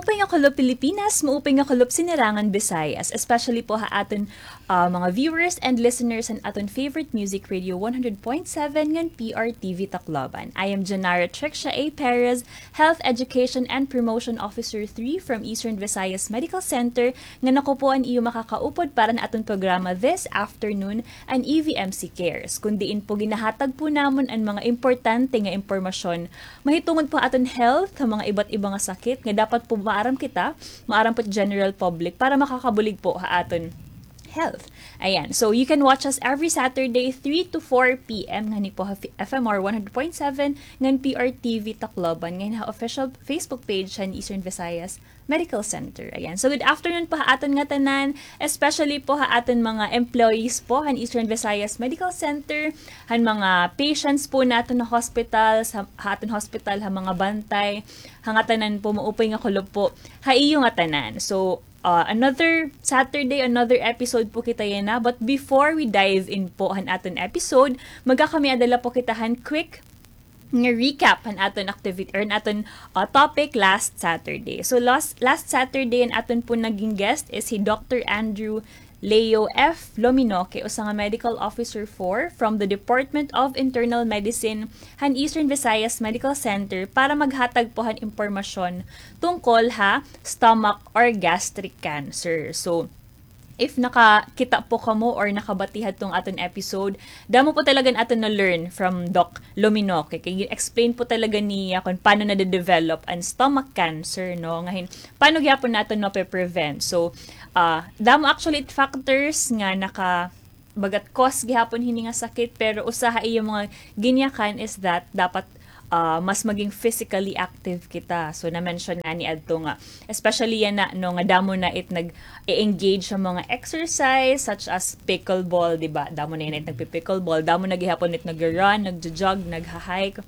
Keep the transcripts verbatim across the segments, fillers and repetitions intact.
Maupay nga kulop Pilipinas, maupay nga kulop Sinirangan Visayas, especially po ha aton, ah, mga viewers and listeners han aton favorite music radio one hundred point seven ngan P R T V Tacloban. I am Janara Trixia A Perez, Health Education and Promotion Officer three from Eastern Visayas Medical Center, ngan ako po an iyo makakaupod para han aton programa this afternoon, an E V M C Cares, kun diin po ginahatag po namon an mga importante nga impormasyon mahitungod po ha aton health, ha mga iba't iba nga sakit nga dapat po maaram kita, maaram po it general public para makakabulig po ha aton health. Ayan. So, you can watch us every Saturday, three to four P M, ngani po ha F-, F M R one hundred point seven, ngan P R T V Tacloban, ngan ha official Facebook page han Eastern Visayas Medical Center. Ayan. So, good afternoon po ha aton ngatanan, especially po ha aton mga employees po han Eastern Visayas Medical Center, han mga patients po naton ha hospital, ha, ha aton hospital, ha mga bantay, ha ngatanan po, maupay nga kulop po ha iyo ngatanan. So, ah, another Saturday, another episode po kita yana. But before we dive in po han aton episode, magkakamiada la po kita han quick nga recap han aton activity, or han aton, ah, topic last Saturday. So, last, last Saturday, an aton po naging guest is si Doctor Andrew Leo F Lominoque, usa nga medical officer four from the Department of Internal Medicine han Eastern Visayas Medical Center, para maghatag po han impormasyon tungkol ha stomach or gastric cancer. So, if nakakita po kamo or nakabati hadtong aton episode, damo po talaga an aton na-learn from Doc Lominoque. Kay gi-explain po talaga niya kun paano nade-develop an stomach cancer, no? Ngahin, paano gihapon naton mape-prevent? So, ah, damo actually it factors nga naka-, bagat cause gihapon hini nga sakit, pero usa ha iya mga ginyakan is that dapat, ah, mas maging physically active kita. So, na-mention ngani adto nga, especially yana, no, nga damo na it nag-e-engage sa mga exercise, such as pickleball, di ba? Damo na yana it nagpi-pickleball, damo na gihapon it nag-run, nagjo-jog, nagha-hike.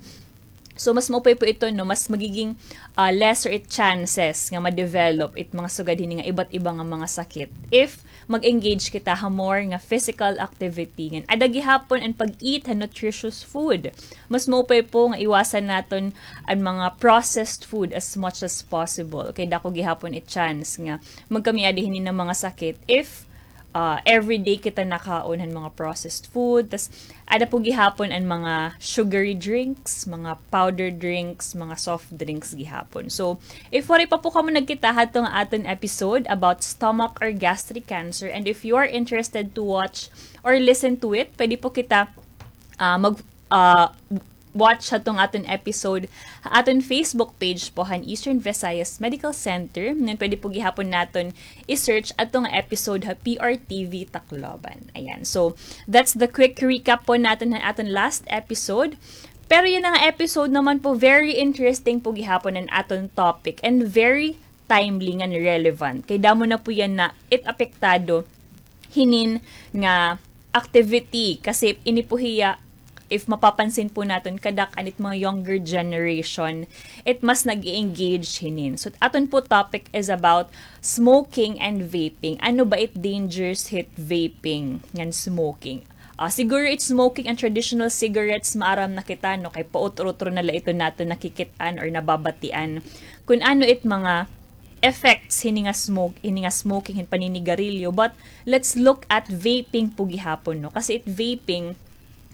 So, mas maupay po ito, no? Mas magiging, ah, lesser it chances nga ma-develop it mga sugad hini nga iba't iba nga mga sakit if mag-engage kita ha more nga physical activity. Ngan, ada gihapon an pag-eat han nutritious food. Mas maupay po nga iwasan naton an mga processed food as much as possible. Kay dako gihapon it chance nga magkamiada hini nga mga sakit if, ah, everyday kita nakaon han mga processed food. Tas, ada po gihapon an mga sugary drinks, mga powder drinks, mga soft drinks gihapon. So, if waray pa po kamo nagkita hadto nga aton episode about stomach or gastric cancer, and if you are interested to watch or listen to it, pwede po kita, ah, mag, ah, watch hadtong aton episode ha aton Facebook page po han Eastern Visayas Medical Center. Ngan pwede po gihapon naton i-search adto nga episode ha P R T V Tacloban. Ayan. So, that's the quick recap po naton han aton last episode. Pero yana nga episode naman po, very interesting po gihapon an aton topic and very timely ngan relevant. Kay damo na po yana it apektado hinin nga activity. Kasi ini po hiya, if mapapansin po naton, kadak-an it mga younger generation, it mas nag-e-engage hinin. So, aton po topic is about smoking and vaping. Ano ba it dangers hit vaping ngan smoking? Ah, siguro it smoking and traditional cigarettes, maaram na kita, no? Kay pautro-utro na la ito naton nakikit-an or nababatian kun ano it mga effects hini nga smoke, hini nga smoking, hin paninigarilyo. But let's look at vaping po gihapon, no? Kasi it vaping,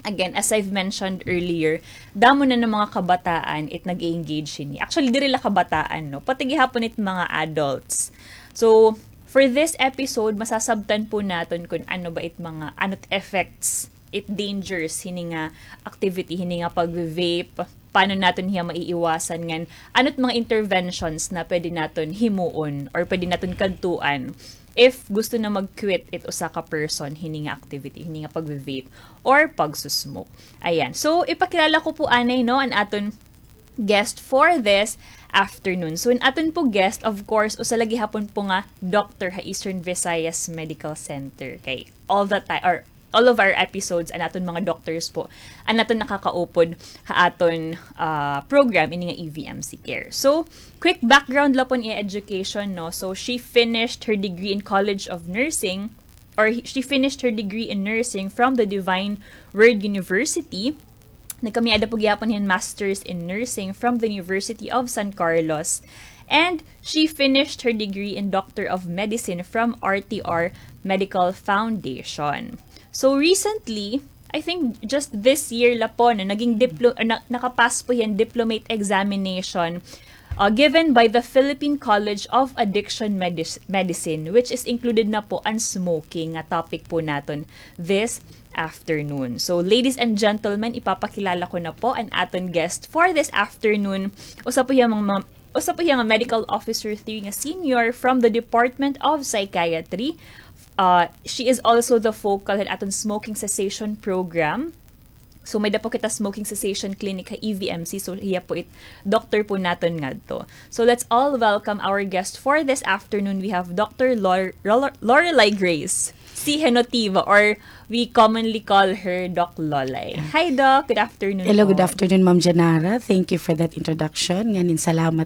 again, as I've mentioned earlier, damo na nga mga kabataan it nag-e-engage hini. Actually, diri la kabataan, no? Pati gihapon it mga adults. So, for this episode, masasabtan po naton kun ano ba it mga, ano it effects, it dangers hini nga activity, hini nga pag-vape, paano naton hiya maiiwasan, ngan ano it mga interventions na pwede naton himuon or pwede naton kadtuan if gusto na mag-quit it usa ka person hini nga activity, hini nga pag-vape or pagsusmoke. Ayan. So, ipakilala ko po anay, no, an aton guest for this afternoon. So, an aton po guest, of course, usa la gihapon po nga doctor ha Eastern Visayas Medical Center. Kay all the time, or all of our episodes, an aton mga doctors po an aton nakakaupod ha aton, ah, program, ini nga E V M C Care. So, quick background la po an iya education, no? So, she finished her degree in College of Nursing, or he-, she finished her degree in nursing from the Divine Word University. Nagkamiada po gihapon hin Masters in Nursing from the University of San Carlos. And she finished her degree in Doctor of Medicine from R T R Medical Foundation. So recently, I think just this year la po, no, naging diplo-, na, nakapas po hiya hin diplomate examination, uh, given by the Philippine College of Addiction Medis-, Medicine, which is included na po an smoking nga topic po naton this afternoon. So, ladies and gentlemen, ipapakilala ko na po an aton guest for this afternoon. Usa po hiya mga, usa po hiya nga medical officer three nga senior from the Department of Psychiatry. Uh, she is also the focal han aton smoking cessation program. So, may-ada po kita smoking cessation clinic ha E V M C. So, hiya po it doctor po naton ngadto. So, let's all welcome our guest for this afternoon. We have Doctor Lor-, Lor-, Lorelai Grace C. Henotiva, or we commonly call her Doc Lolay. Hi, Doc. Good afternoon Hello, po. Good afternoon, Ma'am Janara. Thank you for that introduction. Ngan hin salamat